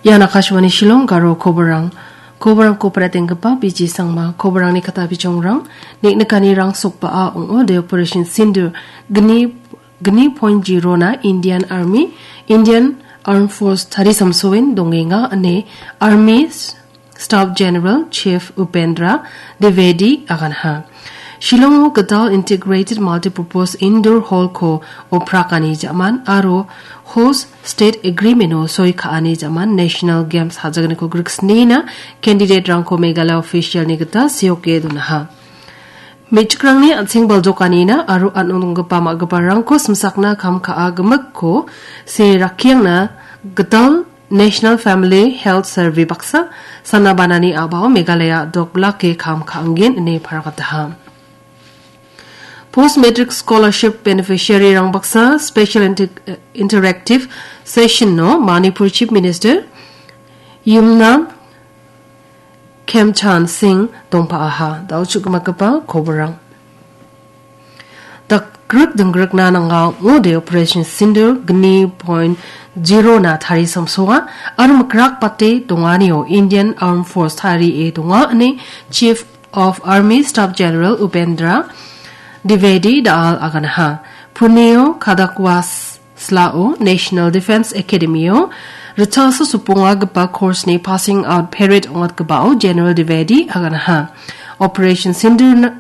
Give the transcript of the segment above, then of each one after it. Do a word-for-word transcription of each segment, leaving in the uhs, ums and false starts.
Ian Akashvani Shillong Garo koborrang. Koborrangko paratenggipa B J Sangma. Koborrangni kata bijongrang, neng·nikanirang sokba·a ong·ode Operation Sindoor gni, gni point zero na Indian Army, Indian Armed Force tarisamsoen dongenga ine Army Staff General Chief Upendra Dwivedi aganha. Shillongo gital Integrated Multipurpose Indoor Hall-ko oprakani ja·man aro Host State Agreement-o soi ka·ani ja·man National Games hajagniko griksnina candidate-rangko Meghalaya official-ni gita seoke donaha. Me·chikrangni an·seng baljokanina aro an·ong donggipa ma·giparangko simsakna kam ka·a gimikko se rakkiangna gital National Family Health Survey baksa sana banani a·bao Meghalaya a·dok blake kam ka·angen ine paragataha. Post Matric Scholarship Beneficiary-rang baksa Special Inter-, Interactive Session-o Manipur Chief Minister Yumnam Khemchand Singh dongpa·aha. Da·o chu·gimagipa koborrang. Dakgrik dinggrikna nanga ong·ode Operation Sindoor gni point zero na tarisamsoa aro mikrak bate donganio Indian Armed Force tarie donga ine Chief of Army Staff General Upendra Dwivedi da·al aganaha. Punio Kadakwas Slao National Defence Academy-o ritchasa sopongagipa course-ni passing out parade ong·atgipao General Dwivedi aganaha. Operation Sindoor na-,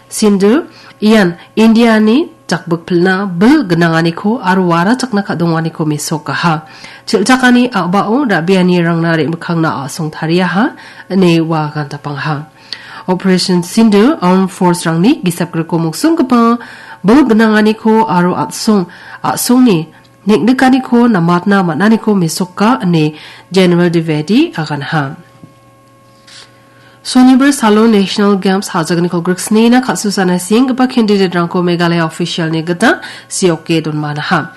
Sindoor ian India-ni jakbikpilna bil gnanganiko aro warachakna ka·donganiko mesokaha. Chel·chakani a·bao ra·bianirangna re·mikkangna a·song tariaha, ine ua agantapangaha. Operation Sindoor Armed Force-rangni gisapgriko mongsonggipa bil gnanganiko aro a·song, a·songni neng·nikaniko namatna man·aniko mesoka ine General Dwivedi aganha. Sonibar salo National Games hajagniko griksnina kal·susana sienggipa candidate-rangko Meghalaya official-ni gita seoke donmanaha.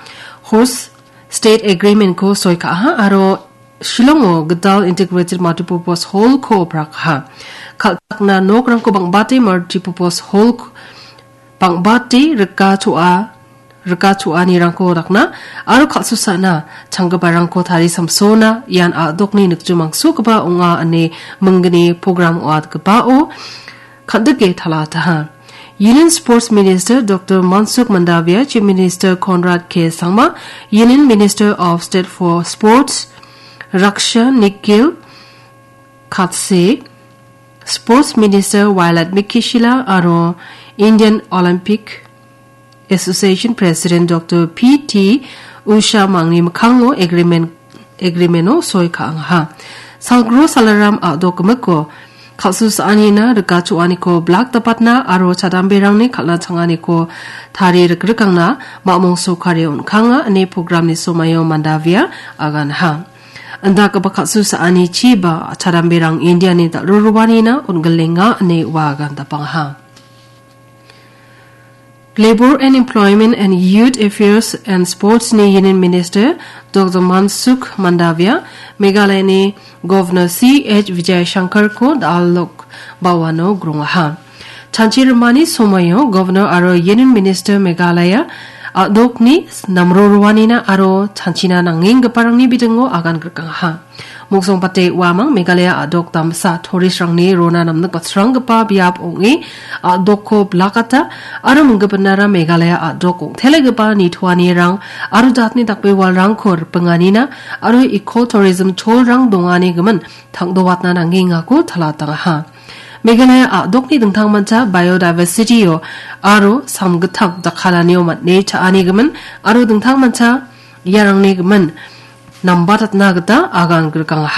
Host State Agreement-ko soi ka·aha aro Shillongo gital Integrated Multipurpose Hall-ko oprakaha. Kal·chakna nokrangko bang·bate Multipurpose Hall-ko bang·bate rika choa, rika choanirangko dakna aro kal·susana changgiparangko tarisamsona ian a·dokni nikjomangsogipa ong·a ine minggni program ong·atgipao kan·dike talataha. Union Sports Minister Doctor Mansukh Mandavia, Chief Minister Conrad K Sangma, Union Minister of State for Sports Raksha Nikhil Khatse, Sports Minister Violette Meghashila aro Indian Olympic Association President Doctor P T Usha mangni mikkango agreement, agreement-o soi ka·angaha. Salgro Salaram a·dok gimikko kal·susaanina rika choaniko blak dapatna aro chadamberangni kal·na changaniko tarie rikrikangna mamung sokari on·kanga ine programni somaio Mandavia aganha. Indakgipa kal·susaanichiba chadamberang Indiani dal·roroanina on·gilenga ine ua agandapangaha. Labour and Employment and Youth Affairs and Sports-ni Union Minister Doctor Mansukh Mandavia, Meghalayani Governor C H Vijayashankar-ko da·alok baoano grongaha. Chanchi rimani somoio Governor aro Union Minister Meghalaya a·dokni namroroanina aro chanchina nangenggiparangni bidingo agan grikangaha. Mongsongbate uamang Meghalaya a·dok damsa tourist-rangni rona namnik batsranggipa biap ong·e a·dokko blakata aro minggipinara Meghalaya a·dok ong·telegipa nitoanirang aro jatni dakbewalrangko ripinganina aro eco tourism cholrang dongani gimin tangdoatna nanggengako talatangaha. Meghalaya a·dokni dingtangmancha biodiversity-o aro samgittam jakkalanio man·e cha·ani gimin aro dingtangmancha iarangni gimin nambatatna gita agan grikangaha.